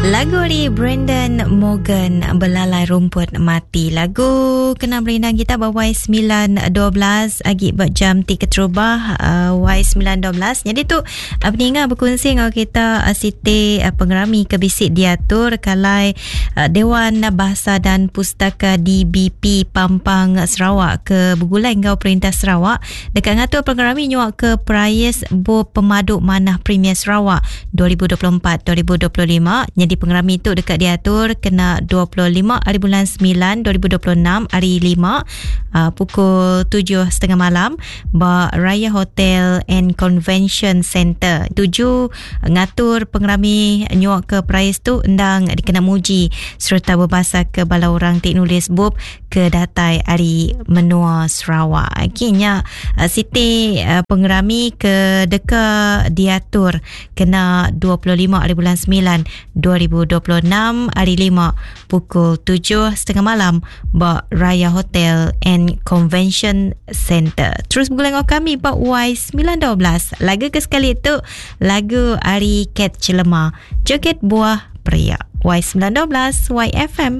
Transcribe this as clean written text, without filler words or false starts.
Lagu ari Brandon Morgan Belalai Rumput Mati. Lagu kena merindang kita ba Y912 agi ba jam ti keterubah uh, Y912. Jadi tu uh, peninga berkongsi enggau kita uh, siti uh, pengerami ke bisi diatur kalai uh, Dewan Bahasa dan Pustaka DBP Pampang Sarawak ke begulai enggau Perintah Sarawak deka ngatur pengerami nyuak ke Perais Bup Pemadu Manah Premier Sarawak 2024 2025. Nyadi pengerami tu deka diatur kena 25 hari bulan 9 2026 hari 5 uh, pukul 7.30 malam ba Raya Hotel and Convention Center. Tuju ngatur pengerami nyuak ke perais tu endang dikena muji sereta bebasa ke bala orang ti nulis bup ke datai ari menua Sarawak. Okey nya eh, siti eh, pengerami ke deka diatur kena 25 hari bulan 9 2026 hari 5 pukul 7.30 malam ba Raya Hotel and Convention Center. Terus bergulai dengan kami ba Y912. Lagu ke sekali tu lagu ari Cat Celema. Joget Buah Pria. Y912 YFM.